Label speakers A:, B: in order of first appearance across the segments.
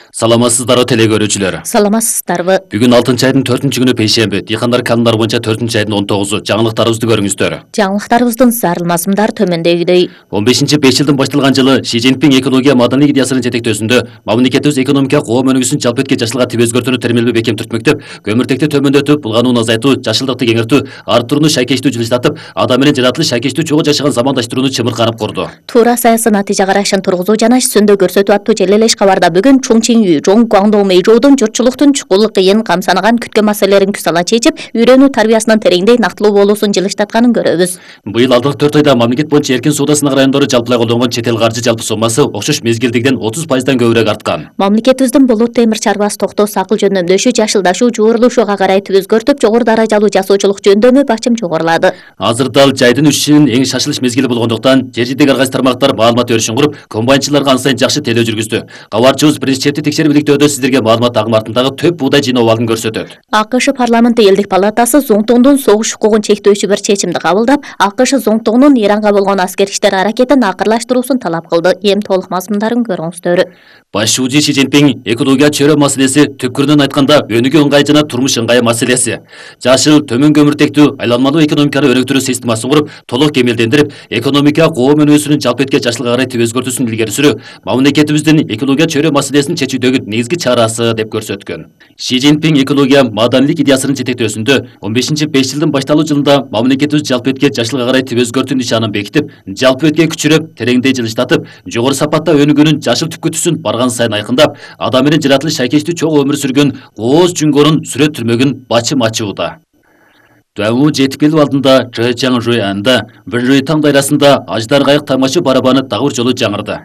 A: Саламатсыздарбы теле көрүүчүлөр.
B: Саламатсыздарбы.
A: Бүгүн 6-айдын 4-күнү пейшемби. Дыйкандар календар боюнча 4-айдын 19-у. Жаңылыктарыбызды көрүңүздөр.
B: Жаңылыктарыбыздын зарылмасымдар төмөндөгүдөй.
A: 15-5 жылдын башталган жылы Ши Цзиньпин экология маданий идеясынын жетектөөсүндө мамлекетибиз экономика коом өнүгүүсүн жалпы этке жашылга тип өзгөртүүнү термелби бекем түртмөктөп, көмүртекти төмөндөтүп, булганууну азайтуу, жашылдыкты кеңиртүү, арттырууну шайкештүү жылыштатып, адам менен жаратылыш шайкештүү чогуу жашаган замандаштырууну чымырканып курду.
B: Туура саясий натыйжа карашын тургузуу жана сөндө көрсөтүү аттуу желелеш кабарда бүгүн Чуңчиңүү, Жоң Гуаңдоо Мэйжоудун журтчулуктун чукул кыйын камсанаган күткөн маселелерин күсала чечип, үйрөнүү тарбиясынын тереңдей нактылуу болуусун жылыштатканын көрөбүз.
A: Быйыл алдыңкы 4 айда мамлекет боюнча эркин соода сынак райондору жалпылай колдонгон чет эл каржы жалпы соммасы окшош мезгилдегиден 30% көбүрөөк арткан.
B: Мамлекетибиздин Болот темир чарбасы токтоосу акыл жөндөмдөшү жашылдашуу, жуурулушууга карай тип өзгөртүп, жогору даражалуу жасоочулук жөндөмү бачым жогорулады.
A: Азыр дал жайдын үчүн эң шашылыш мезгили болгондуктан жер жидек ар кайсы тармактар маалымат өрүшүн куруп, комбайнчыларга ан сайын жакшы тейлөө жүргүздү. Кабарчыбыз президенттик текшерип иликтөөдө сиздерге маалымат агым артындагы төп буудай жыйноо абалын көрсөтөт.
B: АКШ парламенти элдик палатасы Зоңтоңдун согуш укугун чектөөчү бир чечимди кабылдап, АКШ Зоңтоңдун Иранга болгон аскер иштер аракетин акырлаштыруусун талап кылды. Эми толук мазмундарын көрүңүздөр.
A: Башчы Ши Цзиньпин экология чөйрө маселеси түпкүрүнөн айтканда өнүгүү ыңгай жана турмуш ыңгай маселеси. Жашыл төмөн көмүртектүү айланмалуу экономиканы өнүктүрүү системасын куруп, толук кемелдендирип, экономика коом өнүгүүсүнүн жалпы этке жашылга карай тип өзгөртүүсүн илгери сүрүү мамлекетибиздин экология чөйрө маселесин чечүүдөгү негизги чарасы деп көрсөткөн. Ши Цзиньпин экология маданийлик идеясынын жетектөөсүндө 15-5 жылдын башталуу жылында мамлекетибиз жалпы этке жашылга карай тип өзгөртүү нишанын бекитип, жалпы этке күчүрөп, тереңдей жылыштатып, жогору сапатта өнүгүүнүн жашыл түпкүтүсүн барган сайын айкындап, адам менен жаратылыш шайкештүү чогуу өмүр сүргөн кооз жүңгөрүн сүрөттүрмөгүн бачым ачууда. Дуаңуу жетип келүү алдында Чжэчжан Жуянда бир жой таң дайрасында аждар кайык тамашы барабаны дагы бир жолу жаңырды.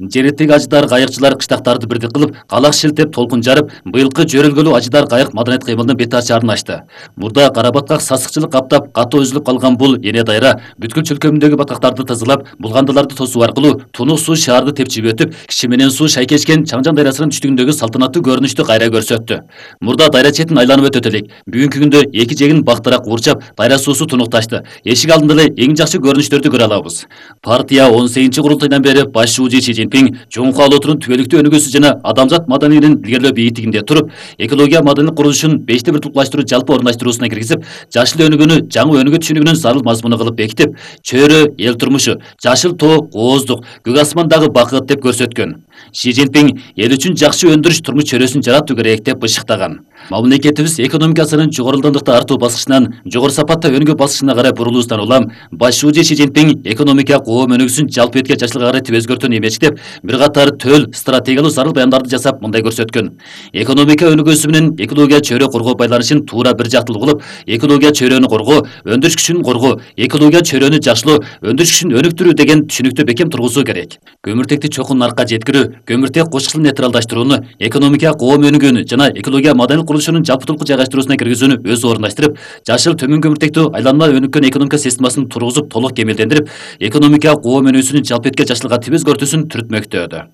A: Жереттеги аждар кайыкчылар кыштактарды бирдик кылып, калак шилтеп толкун жарып, быйылкы жөрөлгөлүү аждар кайык маданият кыймылынын бет ачаарын ачты. Мурда карабаткак сасыкчылык каптап, катуу үзүлүп калган бул эне дайра бүткүл чөлкөмүндөгү баткактарды тазалап, булгандыларды тосуу аркылуу тунук суу шаарды тепчип өтүп, киши менен суу шайкешкен Чаңжан дайрасынын түштүгүндөгү салтанаттуу көрүнүштү кайра көрсөттү. Мурда дайра четин айланып өтөт элек. Бүгүнкү күндө эки жегин бактырак куурчап, дайра суусу тунукташты. Эшик алдында эле эң жакшы көрүнүштөрдү көрө алабыз. Партия 18-курултайдан бери башчы Ши Цзиньпин Жоңкуу олоотунун түбөлүктүү өнүгүүсү жана адамзат маданийлигин илгерилөө бийиктигинде туруп, экология маданийлик курулушун 5-те 1 туплаштыруу жалпы орундаштыруусуна киргизип, жашыл өнүгүүнү жаңы өнүгүү түшүнүгүнүн зарыл мазмуну кылып бекитип, чөйрө эл турмушу, жашыл тоо кооздук, көк асмандагы бакыт деп көрсөткөн. Ши Цзиньпин эл үчүн жакшы өндүрүш турмуш чөйрөсүн жаратуу керек деп бышыктаган. Мамлекетибиз экономикасынын жогорулдандыкта артуу баскычынан жогору сапатта өнүгүү баскычына карай бурулуусунан улам башчы Ши Цзиньпин экономика коом өнүгүүсүн жалпы этке жашылга карай тип өзгөртүүнү эмечтеп, бир катар төл стратегиялуу зарыл баяндарды жасап мындай көрсөткөн. Экономика өнүгүүсү менен экология чөйрө коргоо байланышын туура бир жактылуу кылып, экология чөйрөнү коргоо, өндүрүш күчүн коргоо, экология чөйрөнү жакшылоо, өндүрүш күчүн өнүктүрүү деген түшүнүктү бекем тургузуу керек. Көмүртекти чокун наркка жеткирүү, көмүртек кочкулун нейтралдаштырууну, экономика коом өнүгүүнү жана экология маданийлик курулушунун жалпытылкы жайгаштыруусуна киргизүүнү өзү орундаштырып, жашыл төмөн көмүртектүү айланма өнүккөн экономика системасын тургузуп толук кемелдендирип, экономика коом өнүгүүсүнүн жалпы этке жашылга тип өзгөртүүсүн түртмөктөдү.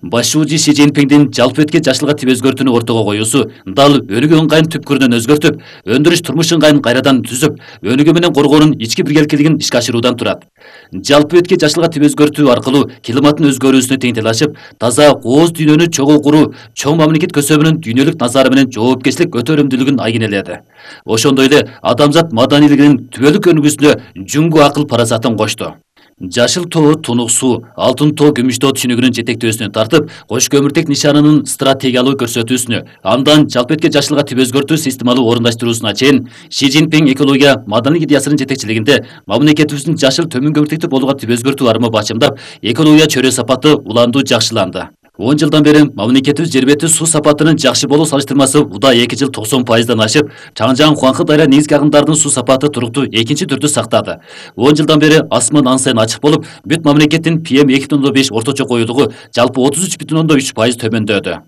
A: Башчы Ши Цзиньпиндин жалпы этке жашылга тип өзгөртүүнү ортого коюусу дал өнүгүү ыңгайын түпкүрүнөн өзгөртүп, өндүрүш турмуш ыңгайын кайрадан түзүп, өнүгүү менен коргоонун ички биргеликтерин ишке ашыруудан турат. Жалпы этке жашылга тип өзгөртүү аркылуу климаттын өзгөрүүсүнө тең талашып, таза кооз дүйнөнү чогуу куруу, чоң мамлекет көсөбүнүн дүйнөлүк назары менен жоопкерчилик көтөрүмдүүлүгүн айгинеледи. Ошондой эле адамзат маданийлигинин түбөлүк өнүгүүсүнө жүңгү акыл парасатын кошту. Жашыл тоо тунук суу, алтын тоо күмүш тоо түшүнүгүнүн жетектөөсүнө тартып, кош көмүртек нишанынын стратегиялуу көрсөтүүсүнө, андан жалпы этке жашылга тип өзгөртүү системалуу орундаштыруусуна чейин Ши Цзиньпин экология маданийлик идеясынын жетекчилигинде мамлекетибиздин жашыл төмөн көмүртектүү болууга тип өзгөртүү арымы бачымдап, экология чөйрө сапаты уландуу жакшыланды. 10 жылдан бери мамлекетибиз жер бети суу сапатынын жакшы болуу салыштырмасы уда 2 жыл 90%дан ашып, Чаңжан Хуаңкы дайра негизги агымдардын суу сапаты туруктуу экинчи түрдү сактады. 10 жылдан бери асман ан сайын ачык болуп, бүт мамлекеттин PM2.5 орточо коюлугу жалпы 33,3% төмөндөдү.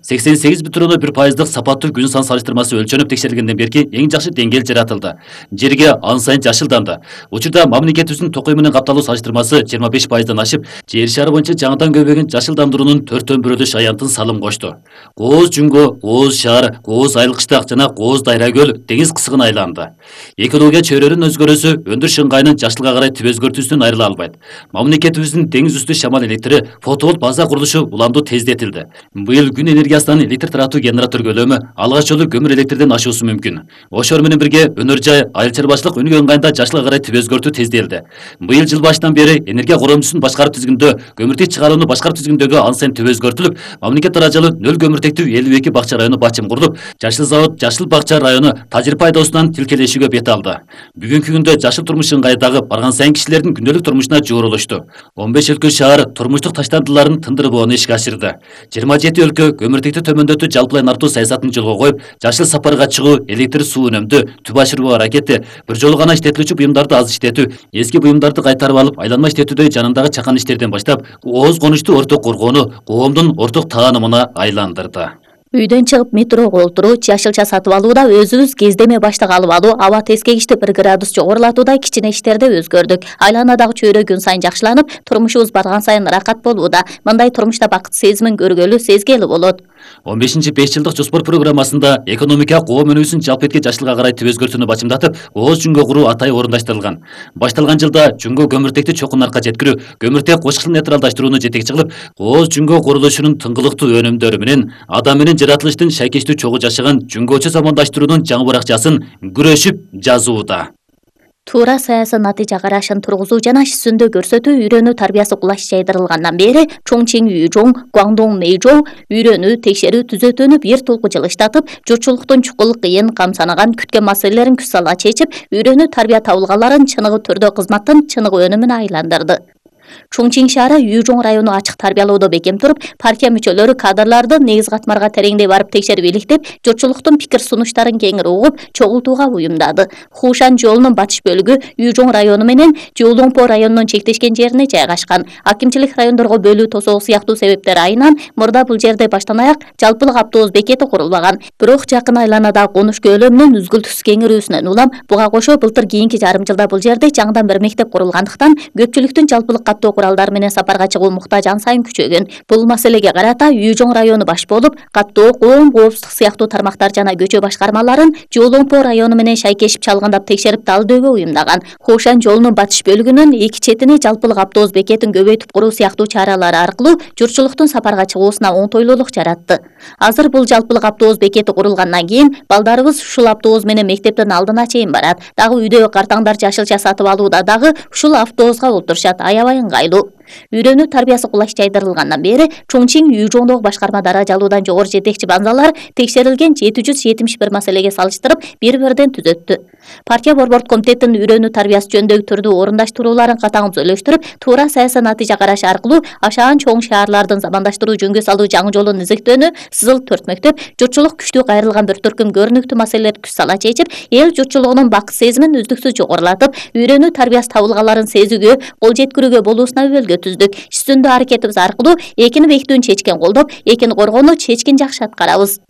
A: 88,1% сапаттуу күн сан салыштырмасы өлчөнүп текшерилгенден берки эң жакшы деңгээл жаратылды. Жерге ан сайын жашылданды. Учурда мамлекетибиздин токой менен капталуу салыштырмасы 25%дан ашып, жер шары боюнча жаңыдан көбөйгөн жашылдандыруунун 4/1 аянтын салым кошту. Кооз Жүнгө, Кооз шаар, Кооз Айылкыштак жана Кооз Дайра көл деңиз кысыгына айланды. Экология чөйрөнүн өзгөрүүсү өндүрүш ыңгайынын жашылга карай түп өзгөртүүсүнөн айрыла албайт. Мамлекетибиздин деңиз үстү шамал электри фотоволт база курулушу уламдуу тездетилди. Быйыл күн энергиясынан электр таратуу генератор көлөмү алгач жолу көмүр электрден ашуусу мүмкүн. Ошор менен бирге өнөр жай, айыл чарбачылык өнүгүү ыңгайында жашылга карай түп өзгөртүү тездетилди. Быйыл жыл башынан бери энергия коромчусун башкаруу тизгиндө көмүртек чыгарууну башкаруу тизгиндөгү ан сайын түп өзгөртүлүп, мамлекет даражалуу нөл көмүртектүү 52 бакча району бачым курулуп, Жашыл завод Жашыл бакча району тажрыйба айдоосунан тилкелешүүгө бет алды. Бүгүнкү күндө жашыл турмуш ыңгайдагы барган сайын кишилердин күндөлүк турмушуна жуурулушту. 15 өлкө шаар турмуштук таштандыларын тындырбоону ишке ашырды. 27 өлкө көмүртекти төмөндөтүү жалпылай нартуу саясатын жолго коюп, жашыл сапарга чыгуу, электр суу үнөмдүү, түп ашыруу аракети, бир жолу гана иштетилүүчү буюмдарды аз иштетүү, эски буюмдарды кайтарып алып, айланма иштетүүдө жанындагы чакан иштерден баштап, ооз конушту орток коргоону коомдун орток таанымына айландырды.
B: Үйдөн чыгып метрого отуруу, жашылча сатып алууда өзүбүз кездеме баштык алып алуу, аба тескегичти 1 градус жогорулатуудай кичине иштерде өзгөрдүк. Айланадагы чөйрө күн сайын жакшыланып, турмушубуз барган сайын ыракат болууда. Мындай турмушта бакыт сезимин көргөлү, сезгели болот.
A: 15-5 жылдык жоспор программасында экономика коом өнүүсүн жалпы этке жашылга карай түп өзгөртүүнү бачымдатып, Кооз Жүнгө куруу атайы орундаштырылган. Башталган жылда Жүнгө көмүртекти чокун арка жеткирүү, көмүртек кошкыл нейтралдаштырууну жетекчи кылып, Кооз Жүнгө курулушунун тыңгылыктуу өнүмдөрү менен адам менен жаратылыштын шайкештүү чогуу жашаган Жүнгөчө замандаштыруунун жаңы баракчасын күрөшүп жазууда.
B: Туура саясий натыйжа карашын тургузуу жана сүндө көрсөтүү үйрөнүү тарбиясы кулаш жайдырылгандан бери Чоңчиң Үйжоң, Гуаңдоң Мэйжоу үйрөнүү, текшерүү, түзөтүүнү бир толку жылыштатып, журтчулуктун чукул кыйын камсанаган күткөн маселелерин күз сала чечип, үйрөнүү тарбия табылгаларын чыныгы түрдө кызматтын чыныгы өнүмүнө айландырды. Чоңчиң шаары Үйжоң району ачык тарбиялоодо бекем туруп, партия мүчөлөрү кадрларды негиз катмарга тереңдей барып текшерип иликтеп, журтчулуктун пикир сунуштарын кеңири угуп, чогултууга буюмдады. Хушан жолунун батыш бөлүгү Үйжоң району менен Жолоңпо районунун чектешкен жерине жайгашкан. Акимчилик райондорго бөлүү тосоого сыяктуу себептер айынан мурда бул жерде баштан аяк жалпылык автобус бекети курулбаган. Бирок жакын айланадагы конуш көлөмүнүн үзгүлтүксүз кеңирүүсүнөн улам буга кошо былтыр кийинки жарым жылда бул жерде жаңыдан бир мектеп курулгандыктан көпчүлүктүн жалпылык каттоо куралдары менен сапарга чыгуу муктаж ан сайын күчөгөн. Бул маселеге карата Үйжоң району баш болуп, каттоо, коом коопсуздук сыяктуу тармактар жана көчө башкармаларын Жолоңпо району менен шайкешип чалгындап текшерип талдоого уюмдаган. Хушан жолунун батыш бөлүгүнүн эки четине жалпылык автобус бекетин көбөйтүп куруу сыяктуу чаралар аркылуу журтчулуктун сапарга чыгуусуна оңтойлуулук жаратты. Азыр бул жалпылык автобус бекети курулгандан кийин балдарыбыз ушул автобус менен мектептин алдына чейин барат. Дагы үйдөгү картаңдар жашылча сатып алууда дагы ушул автобуска отурушат. Аябай ыңгайлуу. Үйрөнүү тарбиясы кулаш жайдырылгандан бери Чоңчиң Үйжоңдогу башкарма даражалуудан жогору жетекчи банзалар текшерилген 771 маселеге салыштырып бир-бирден түзөттү. Партия борбордук комитеттин үйрөнүү тарбиясы жөнүндөгү түрдүү орундаштырууларын катаң түзөлөштүрүп, туура саясий натыйжа караш аркылуу ашаан чоң шаарлардын замандаштыруу жөнгө салуу жаңы жолун изиктөөнү сызыл 4 мектеп, журтчулук күчтүү кайрылган бир төркүм көрүнүктүү маселелерди күз сала чечип, эл журтчулугунун бакыт сезимин үздүксүз жогорулатып, үйрөнүү тарбиясы табылгаларын сезүүгө, кол жеткирүүгө болуусуна өбөлгө түздүк. Үстүндө аракетибиз аркылуу экини бекитүүнү чечкен колдоп, экини коргоону чечкин жакшы аткарабыз.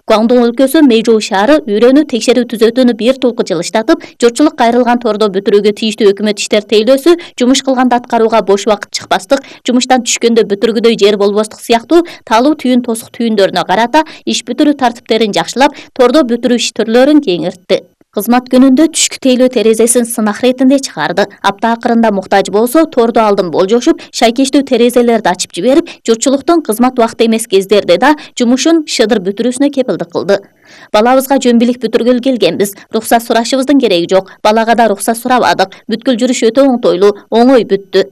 B: Гуаңдоң өлкөсү Мэйжоу шаары үйрөнүү текшерүү түзөтүүнү бир толку жылыштатып, журтчулук кайрылган тордо бүтүрүүгө тийиштүү өкмөт иштер тейлөөсү, жумуш кылганда аткарууга бош убакыт чыкпастык, жумуштан түшкөндө бүтүргүдөй жер болбостук сыяктуу таалуу түйүн тосук түйүндөрүнө карата иш бүтүрүү тартиптерин жакшылап, тордо бүтүрүү иш түрлөрүн кеңиртти. Кызмат күнүндө түшкү тейлөө терезесин сынак иретинде чыгарды. Апта акырында муктаж болсо, тордо алдын болжошуп, шайкештүү терезелерди ачып жиберип, журтчулуктун кызмат убакыты эмес кездерде да жумушун шыдыр бүтүрүүсүнө кепилдик кылды. Балабызга жөн билик бүтүргөлү келгенбиз. Рухсат сурашыбыздын кереги жок. Балага да рухсат сурабадык. Бүткүл жүрүш өтө оңтойлуу, оңой бүттү.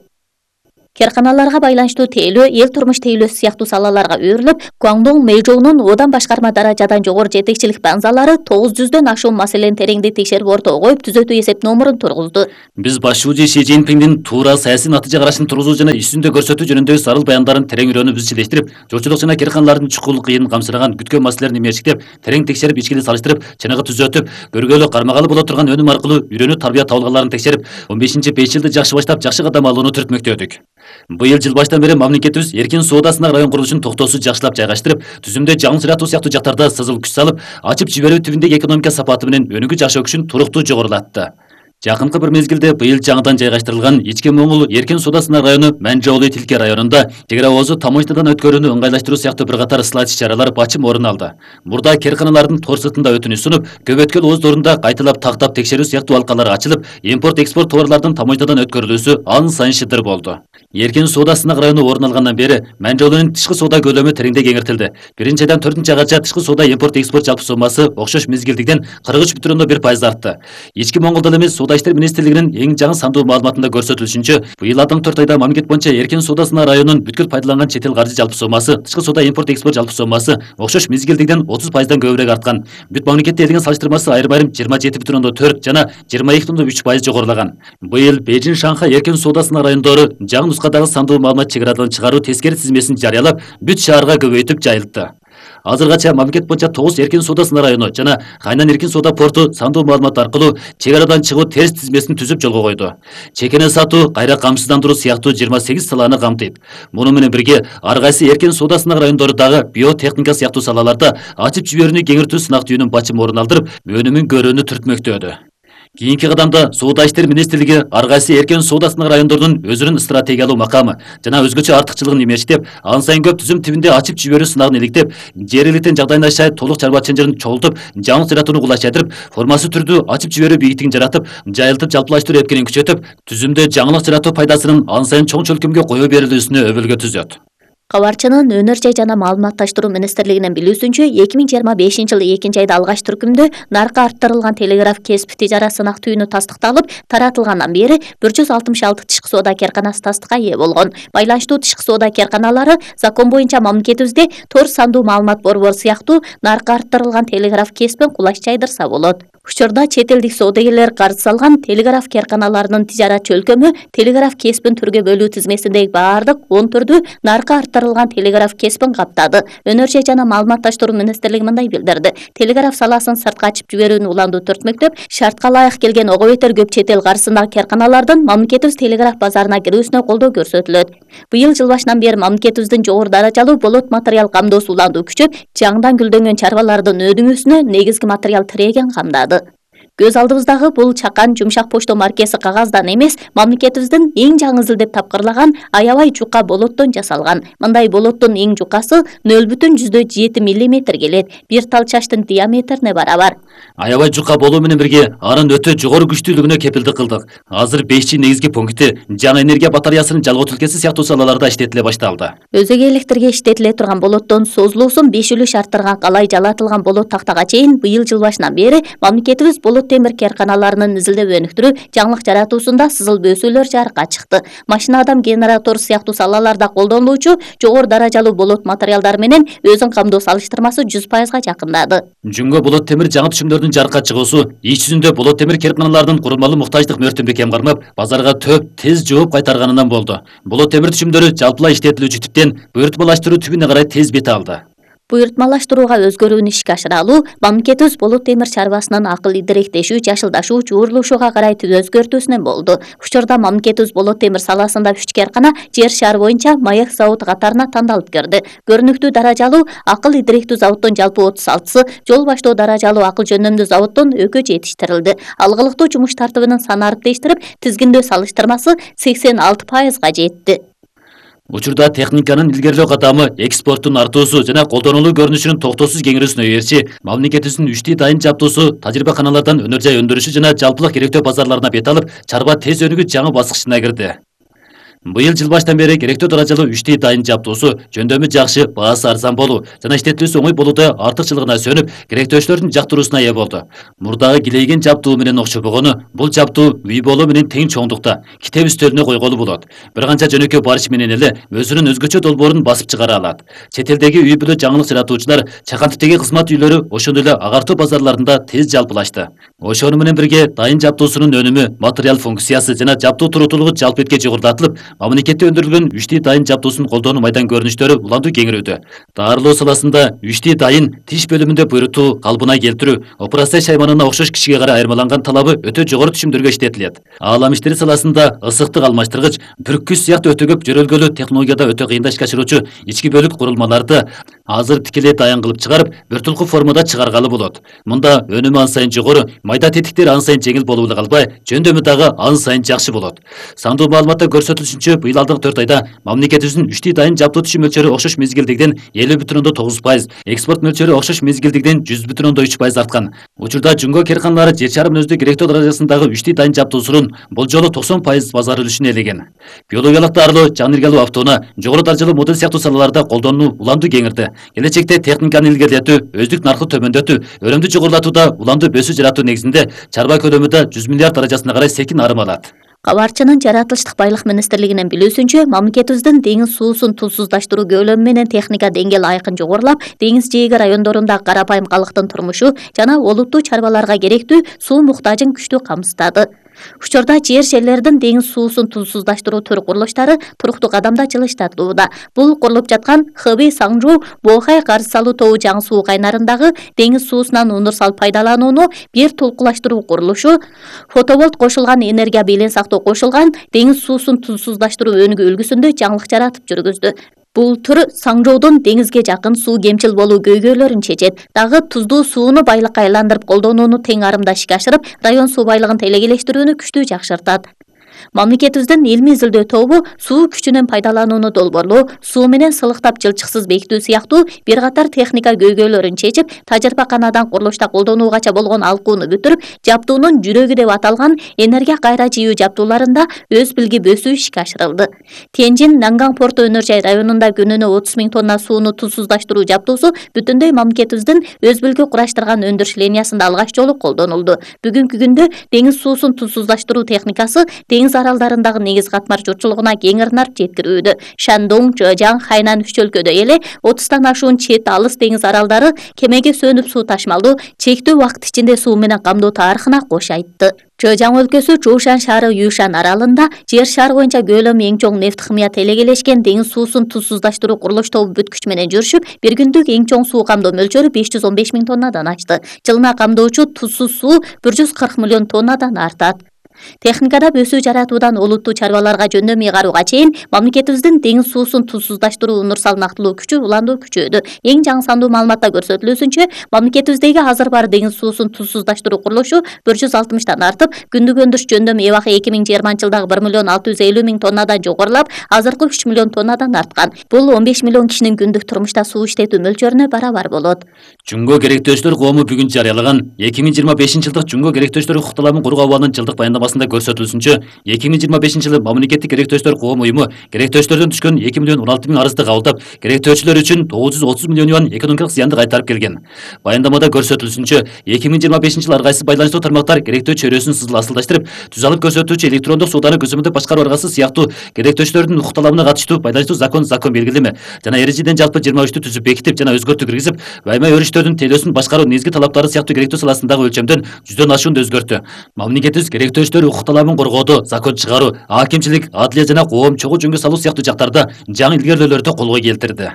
B: Керканаларга байланыштуу тейлөө, эл турмуш тейлөөсү сыяктуу салаларга өөрүлүп, Гуаңдоң Мэйжоунун одан башкарма даражадан жогору жетекчилик банзалары 900дөн ашуун маселени тереңдей текшерип ортого коюп, түзөтүү эсеп номурун тургузду.
A: Биз башчыбыз Си Цзиньпиндин туура саясий натыйжа карашын тургузуу жана ишүндө көрсөтүү жөнүндөгү сарыл баяндарын терең үйрөнүп изчилештирип, журтчулук жана керканалардын чукул кыйын камсыраган күткөн маселелерин эмерчиктеп, терең текшерип, ичкиле салыштырып, чыныгы түзөтүп, көргөлө кармагалы боло турган өнүм аркылуу үйрөнүү тарбия табылгаларын текшерип, 15-5 жылды жакшы баштап, жакшы кадам алууну түртмөктөдүк. Быйыл жыл башынан бери мамлекетибиз эркин соода сынак район курулушун токтоосуз жакшылап жайгаштырып, түзүмдө жаңы жаратуу сыяктуу жактарда сызыл күч салып, ачып жиберүү түбүндөгү экономика сапаты менен өнүгүү жашоо күчүн туруктуу жогорулатты. Жакынкы бир мезгилде быйыл жаңыдан жайгаштырылган Ички Моңгул эркин соода сынак району Манжоолу Тилке районунда чек ара оозу таможнядан өткөрүүнү ыңгайлаштыруу сыяктуу бир катар ысылат иш-чаралар бачым орун алды. Мурда керканалардын тор сыртында өтүнүш сунуп, көп өткөл ооздорунда кайталап тактап текшерүү сыяктуу алкалар ачылып, импорт-экспорт товарлардын таможнядан өткөрүлүүсү ан сайын шыдыр болду. Эркин соода сынак району орун алгандан бери Манжоолунун тышкы соода көлөмү тереңдей кеңиртилди. 1-ден 4-айга тышкы соода импорт-экспорт жалпы сомасы окшош мезгилдигиден 43,1% артты. Ички Моңгулда эмес Соода иштер министрлигинин эң жаңы сандуу маалыматында көрсөтүлүшүнчө, быйыл алдыңкы 4 айда мамлекет боюнча эркин соода сынак районунун бүткүл пайдаланган чет эл каржы жалпы сомасы, тышкы соода импорт-экспорт жалпы сомасы окшош мезгилдигиден 30%дан көбүрөөк арткан. Бүт мамлекетте элген салыштырмасы айрым-айрым 27,4 жана 22,3% жогорулаган. Быйыл Бейжин, Шанхай эркин соода сынак райондору жаңы нускадагы сандуу маалымат чек арадан чыгаруу тескери тизмесин жарыялап, бүт шаарга көбөйтүп жайылтты. Азыргача мамлекет боюнча 9 эркин соода сынак району жана Хайнан эркин соода порту сандуу маалымат аркылуу чек арадан чыгуу терс тизмесин түзүп жолго койду. Чекене сатуу, кайра камсыздандыруу сыяктуу 28 саланы камтыйт. Муну менен бирге ар кайсы эркин соода сынак райондору дагы биотехника сыяктуу салаларда ачып жиберүүнү кеңиртүү сынак түйүнүн бачым орун алдырып, өнүмүн көрүүнү түртмөктөдү. Кийинки кадамда Соода иштер министрлиги ар кайсы эркин соода сынак райондордун өзүнүн стратегиялуу макамы жана өзгөчө артыкчылыгын эмештеп, ан сайын көп түзүм тибинде ачып жиберүү сынагын иликтеп, жер элитин жагдайына шай толук чарбачы чынжырын чогултуп, жаңылык жаратууну кулайчатырып, формасы түрдүү ачып жиберүү бийиктигин жаратып, жайылтып жалпылаштыруу эркинин күчөтүп, түзүмдө жаңылык жаратуу пайдасынын ан сайын чоң чөлкөмгө кое берилүүсүнө өбөлгө түзөт.
B: Кабарчынын Өнөр жай жана маалыматташтыруу министрлигинин билүүсүнчө, 2025-жылы 2-айда алгач түркүмдө наркы арттырылган телеграф кесип тижара сынак түйүнү тастыкталып, таратылгандан бери 166 тышкы соода керканасы тастыкка ээ болгон. Байланыштуу тышкы соода керканалары закон боюнча мамлекетибизде тор сандуу маалымат борбору сыяктуу наркы арттырылган телеграф кесипин кулаш жайдырса болот. Учурда чет элдик соодагерлер карыз салган телеграф керканаларынын тижарат чөлкөмү телеграф кесипин түргө бөлүү тизмесиндеги баардык 10 түрдүү наркы арттырылган телеграф кесипин каптады. Өнөр жай жана маалыматташтыруу министрлиги мындай билдирди. Телеграф саласын сыртка ачып жиберүүнү уланду түртмөктөп, шартка ылайык келген ого бетер көп чет эл каржысындагы керканалардын мамлекетибиз телеграф базарына кирүүсүнө колдоо көрсөтүлөт. Быйыл жыл башынан бери мамлекетибиздин жогору даражалуу болот материал камдоосу уланду күчөп, жаңыдан гүлдөнгөн чарбалардын өнүгүүсүнө негизги материал тиреген камдады. Көз алдыбыздагы бул чакан жумшак почто маркеси кагаздан эмес, мамлекетибиздин эң жаңы изилдеп тапкырлаган аябай жука болоттон жасалган. Мындай болоттун эң жукасы 0,7 мм келет. Бир тал чачтын диаметрине барабар.
A: Аябай жука болуу менен бирге анын өтө жогору күчтүүлүгүнө кепилдик кылдык. Азыр 5G негизги пункти жаңы энергия батареясынын жалгоо түлкеси сыяктуу салаларда иштетиле башталды.
B: Өзөгө электрге иштетиле турган болоттон созулуусун 5 үлүш арттырган калай жалатылган болот тактага чейин быйыл жыл башынан бери мамлекетибиз болот темир керканаларынын изилдеп өнүктүрүү, жаңылык жаратуусунда сызыл бөөсүүлөр жарыкка чыкты. Машина адам генератор сыяктуу салаларда колдонулуучу жогору даражалуу болот материалдары менен өзүн камдоо салыштырмасы 100%га жакындады.
A: Жүнгө болот темир жаңы түшүмдөрдүн жарыкка чыгуусу иш жүзүндө болот темир керканаларынын курулмалуу муктаждык мөөртүмдү кем кармап, базарга төп тез жооп кайтарганынан болду. Болот темир түшүмдөрү жалпылай иштетилүүчү типтен буйртмалаштыруу түбүнө карай тез бет алды.
B: Буйртмалаштырууга өзгөрүүнү ишке ашыра алуу мамлекетибиз болот темир чарбасынын акыл идиректешүү, жашылдашуу, жуурулушууга карай өзгөртүүсүнөн болду. Учурда мамлекетибиз болот темир саласында 3 керкана жер шары боюнча маек заводу катарына тандалып кирди. Көрүнүктүү даражалуу акыл идиректүү заводдон жалпы 36-сы, жол баштоо даражалуу акыл жөнөмдүү заводдон экөө жетиштирилди. Алгылыктуу жумуш тартыбынын саны арттештирип, тизгиндөө салыштырмасы 86%га жетти.
A: Учурда техниканын илгерлөө катамы, экспорттун артуусу жана колдонулуу көрүнүшүнүн токтоосуз кеңирүүсүнө эрчи, мамлекетибиздин 3 дайын жабдуусу тажрыйбаканалардан өнөр жай өндүрүшү жана жалпылык керектөө базарларына бет алып, чарба тез өнүгүү жаңы баскычына кирди. Быйыл жыл баштан бери керектөө даражалуу 3 дайын жабдуусу, жөндөмү жакшы, баасы арзан болуу жана иштетилүүсү оңой болууда артыкчылыгына сөнүп, керектөөчүлөрдүн жактыруусуна ээ болду. Мурдагы килейген жабдуу менен окшобогону, бул жабдуу үй болуу менен тең чоңдукта, китеп үстөлүнө койголу болот. Бир канча жөнөкөй барыш менен эле өзүнүн өзгөчө долбоорун басып чыгара алат. Чет элдеги үй бүлө жаңылык жаратуучулар, чакан типтеги кызмат үйлөрү ошондой эле агартуу базарларында тез жалпылашты. Ошону менен бирге дайын жабдуусунун өнүмү, материал функциясы жана жабдуу туруктуулугу жалпы этке жогорулатылып, мамлекетте өндүрүлгөн 3D дайын жабдуусун колдонуу майдан көрүнүштөрү уланды кеңирүүдө. Дарылоо саласында 3D дайын тиш бөлүмүндө буйрутуу калыбына келтирүү, операция шайманына окшош кишиге карай айырмаланган талабы өтө жогору түшүмдөргө иштетилет. Аалам иштери саласында ысыктык алмаштыргыч, бүрккүч сыяктуу өтө көп жөрөлгөлүү технологияда өтө кыйын ишке ашыруучу ички бөлүк курулмаларды азыр тикелей даян кылып чыгарып, бир тулку формада чыгаргалы болот. Мында өнүмү ан сайын жогору, майда тетиктер ан сайын жеңил болуп эле калбай, жөндөмү дагы ан сайын жакшы болот. Сандуу маалыматта көрсөтүлүшүнчө, быйыл алдыңкы 4 айда мамлекетибиздин 3D дайын жабдуу түшүм мөлчөрү окшош мезгилдегиден 50,9%, экспорт мөлчөрү окшош мезгилдегиден 100,3% арткан. Учурда Жумго керканалары жер шарынын өзүндө керектүү даражасындагы 3D дайын жабдуусунун бул жолу 90% базар үлүшүн ээлеген. Биологиялык дарылоо, жан энергиялуу автоунаа, жогору даражалуу модель сыяктуу салаларда колдонуу уланды кеңирди. Келечекте техниканы илгерилетүү, өздүк наркы төмөндөтүү, өрөмдү жогорулатууда уланды бөсүү жаратуу негизинде чарба көлөмү да 100 миллиард даражасына карай секин арым алат.
B: Кабарчынын жаратылыштык байлык министрлигинин билүүсүнчө, мамлекетибиздин деңиз суусун тузсуздаштыруу көлөмү менен техника деңгээли айкын жогорулап, деңиз жээги райондорундагы карапайым калктын турмушу жана олуттуу чарбаларга керектүү суу муктажын күчтүү камсыздады. Учурда жер-жерлердин деңиз суусун тузсуздаштыруу төр курулуштары туруктуу кадамда жылыштатууда. Бул курулуп жаткан Хэби, Саңжуу, Бохай карыз салуу тобу жаңы суу кайнарындагы деңиз суусунан универсал пайдаланууну бир толкулаштыруу курулушу, фотоволт кошулган энергия белең сактоо кошулган деңиз суусун тузсуздаштыруу өнүгүү үлгүсүндө жаңылык жаратып жүргүздү. Бул түр Саңжоодун деңизге жакын суу кемчил болуу көйгөйлөрүн чечет. Дагы туздуу сууну байлыкка айландырып колдонууну тең арымда ишке ашырып, район суу байлыгын телекелештирүүнү күчтүү жакшыртат. Мамлекетибиздин илмий изилдөө тобу суу күчүнөн пайдаланууну долбоорлоо, суу менен сылыктап жылчыксыз бекитүү сыяктуу бир катар техника көйгөйлөрүн чечип, тажрыйбаканадан курулушта колдонуугача болгон алкууну бүтүрүп, жабдуунун жүрөгү деп аталган энергия кайра жийүү жабдууларында өз билги бөсүү ишке ашырылды. Тенжин Нанган порту өнөр жай районунда күнүнө 30 000 тонна сууну тузсуздаштыруу жабдуусу бүтүндөй мамлекетибиздин өз билги кураштырган өндүрүш линиясында алгач жолу колдонулду. Бүгүнкү күндө деңиз суусун тузсуздаштыруу техникасы деңиз аралдарындагы негиз катмар журтчулугуна кеңирнар жеткирүүдө. Шандong, Жожаң, Хайнан үч өлкөдө эле 30тан ашуун чет алыс деңиз аралдары кемеге сөнүп суу ташмалдуу, чектүү убакыт ичинде суу менен камдоо тарыхына кош айтты. Жожаң өлкөсү Чушан шаары Юшан аралында жер шары боюнча көлөмү эң чоң нефт химия телекелешкен деңиз суусун тузсуздаштыруу курулуш тобу бүткүч менен жүрүшүп, бир күндүк эң чоң суу камдоо мөлчөрү 515 000 тоннадан ашты. Жылына камдоочу тузсуз суу 140 миллион тоннадан артат. Техникада бөсүү жаратуудан олуттуу чарбаларга жөндөм ыйгарууга чейин мамлекетибиздин деңиз суусун тузсуздаштыруу универсал нактылуу күчү уланды күчөдү. Эң жаңы сандуу маалыматта көрсөтүлүүсүнчө, мамлекетибиздеги азыр бар деңиз суусун тузсуздаштыруу курулушу 160тан артып, күндүк өндүрүш жөндөм эбакы 2020-жылдагы 1,650,000 тоннадан жогорулап, азыркы 3 миллион тоннадан арткан. Бул 15 миллион кишинин күндүк турмушта суу иштетүү мөлчөрүнө барабар болот.
A: Жумго керектөөчүлөр коому бүгүн жарыялаган 2025-жылдык Жумго керектөөчүлөр укукталарын коргоо абалынын жылдык баяндамасында көрсөтүлүшүнчө, 2025-жылы мамлекеттик керектөөчүлөр коом уюму керектөөчүлөрдөн түшкөн 2 миллион 16 000 арызды кабылдап, керектөөчүлөр үчүн 930 миллион юан экономикалык зыянды кайтарып келген. Баяндамада көрсөтүлүшүнчө, 2025-жылы ар кайсы байланыштуу тармактар керектөө чөйрөсүн асылдаштырып, түз алып көрсөтүүчү электрондук сууданы көзөмөлдөп башкаруу аргасы сыяктуу керектөөчүлөрдүн укук талабына катыштуу пайдалаштуу закон белгилеме жана эрежеден жалпы 23-тү түзүп бекитип жана өзгөртүү киргизип, байма өрүштөрдүн тейлөөсүн башкаруу негизги талаптары сыяктуу керектөө саласындагы өлчөмдөн 100дөн ашуунду өзгөртү. Мамлекетибиз керектөөчүлөр укук талабын коргоодо, закон чыгаруу, акимчилик, адилия жана коом чогуу жөнгө салуу сыяктуу жактарда жаңы илгерүүлөрдү колго келтирди.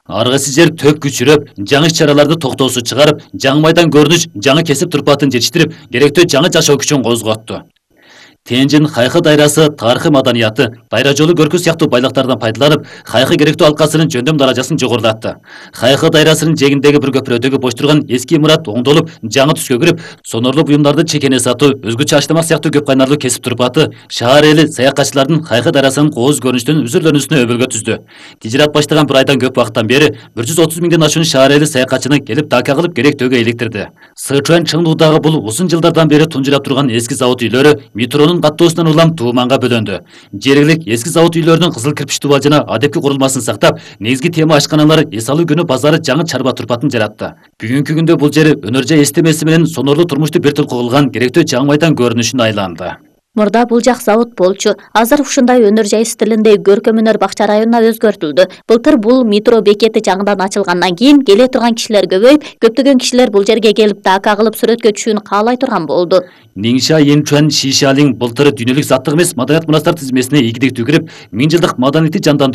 A: Ар кайсы жер төп күчүрөп, жаңы иш-чараларды токтоосуз чыгарып, жаңы майдан көрүнүш, жаңы кесип турпатын жетиштирип, керектөө жаңы жашоо күчүн козготту. Тенжин Хайкы дайрасы тарыхый маданияты, дайра жолу көркү сыяктуу байлыктардан пайдаланып, Хайкы керектүү алкасынын жөндөм даражасын жогорулатты. Хайкы дайрасынын жээгиндеги бир көпүрөдөгү бош турган эски имарат оңдолуп, жаңы түскө кирип, сонорлуу буюмдарды чекене сатуу, өзгөчө аштамак сыяктуу көп кайнарлуу кесип турпаты шаар эли саякатчылардын Хайкы дайрасынын кооз көрүнүштөн үзүрлөнүүсүнө өбөлгө түздү. Тижират баштаган bir айдан көп убакыттан бери 130 000ден ашуун шаар эли саякатчыны келип дака кылып керектөөгө иликтирди. Сычуан Чыңдуудагы бул узун жылдардан бери тунжурап турган эски завод үйлөрү метронун каттоосунан улам тууманга бөлөндү. Жергилик эски завод үйлөрүнүн кызыл кирпич тубал жана адепки курулмасын сактап, негизги тема ашканалар эс алуу күнү базары жаңы чарба турпатын жаратты. Бүгүнкү күндө бул жер өнөр жай эстемеси менен сонорлуу турмушту бир толку кылган керектөө жаңы майдан көрүнүшүнө айланды.
B: Мурда бул жак завод болчу. Азыр ушундай өнөр жай стилинде көркөм өнөр бакча районуна өзгөртүлдү. Былтыр бул метро бекети жаңыдан ачылгандан кийин келе турган кишилер көбөйүп, көптөгөн кишилер бул жерге келип дака кылып сүрөткө түшүүнү каалай турган болду.
A: Ниңша Янчуан Шишалин былтыр дүйнөлүк заттык эмес маданият мурастар тизмесине ийгиликтүү кирип, 1000 жылдык маданиятты жандандыруу